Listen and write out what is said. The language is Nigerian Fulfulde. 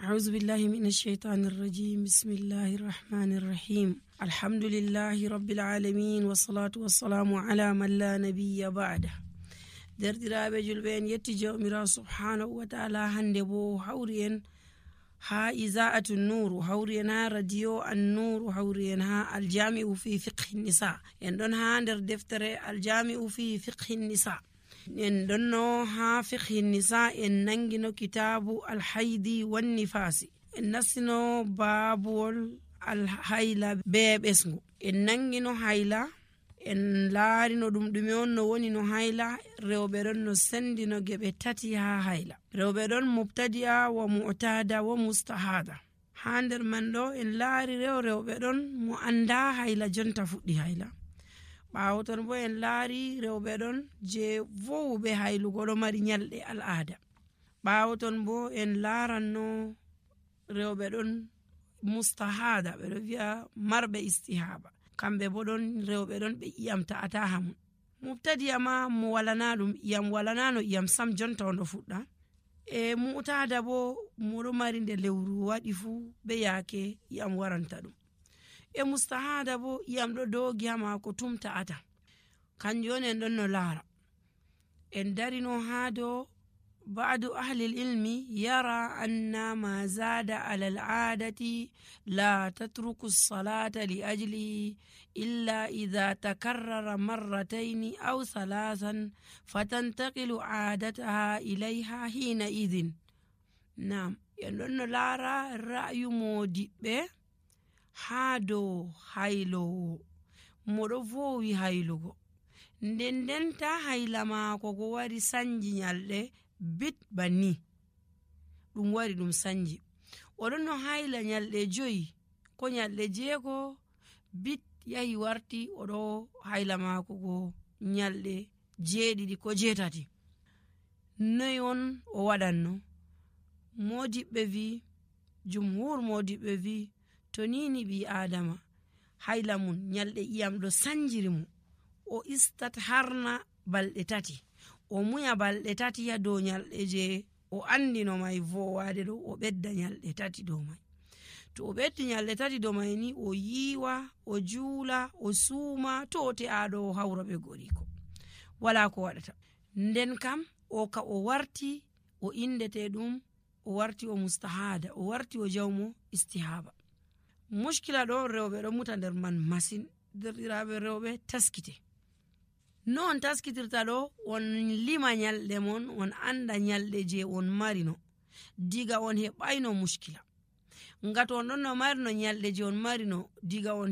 أعوذ بالله من الشيطان الرجيم بسم الله الرحمن الرحيم الحمد لله رب العالمين والصلاة والسلام على من لا نبي بعده. derdiraaɓe julɓe en yetti jawmirawo subhanahu wa ta'ala. hande bo hawri en ha iza'atu nuru, hawri en ha radio annuru, hawri en ha aljami'u fi fiqhi nisa. en ɗon ha nder deftere aljami'u fi fiqhi nisa. en ɗonno ha fiqhi nisa en nangino kitabu alhaidi wan nifasi. en nassino babuwol alhayla be ɓesgu. en nangino hayla, en laarino ɗum ɗume on no woni no hayla. rewɓe ɗon no sendino geɓe tati ha hayla. rewɓe ɗon mubtadi'a wa mu'tada wa mustahada. ha nder man ɗo en laari rewɓe ɗon mo anda hayla jonta fuɗɗi hayla. ɓaawo ton bo en laari rewɓe ɗon je vowuɓe haylugo ɗo mari nyalɗe al'ada. ɓaawo ton bo en laaranno rewɓe ɗon mustahada, ɓe ɗo wi'a marɓe istihaba. kamɓe bo ɗon rewɓe ɗon ɓe iyam ta'ata hamum. mubtadi'a ma mo walana ɗum iyam, walanano iyam sam jonta ondo fuɗɗa. e mu'tada bo moɗo mari nde lewru waɗi fuu be yaake iyam waranta ɗum. e mustahada bo iyam ɗo dogi ha mako tum ta'ata. kanjum on en ɗon no laara. en darino ha dow ba'du ahli ilmi yara anna ma zada ala al'adati la tatruku as-salata li ajlihi illa idha takarrara marratayn aw thalathan fatantaqilu 'adataha ilayha hina idhin. nam en ɗon no laara ra'yu modiɓɓe ha dow haylowo moɗo vowi haylugo, nden ta hayla maako go wari sanji nyalɗe bit banni ɗum wari ɗum sanji. oɗon no hayla nyalɗe 5 ko nyalɗe 6 bit yahi warti oɗo hayla maako go nyalɗe 7 ko 8. noy on o waɗanno? modiɓɓe vi, jumhur modiɓɓe vi, to nini ɓi adama hayla mun nyalɗe iyam ɗo sanjiri mu, o istat harna balɗe 3, o muya balɗe 3 ha dow nyalɗe je o andino mai vowade ɗo, o ɓedda nyalɗe 3 dow mai. to o ɓeddi nyalɗe 3 dow mai ni o yiwa, o juula, o suuma, to o te'aɗo o hawra ɓe goriko wala ko waɗata. nden kam o ka o warti o indete ɗum, o warti o mustahada, o warti o jawmo istihaba. mushkila ɗo rewɓe ɗo muta nder man masin. derɗiraɓe rewɓe taskite. no on taskitirta ɗo? on lima nyalɗe mon, on anda nyalɗe je on marino diga on heɓayno mushkila. ngati on ɗon no marino nyalɗe je on marino diga on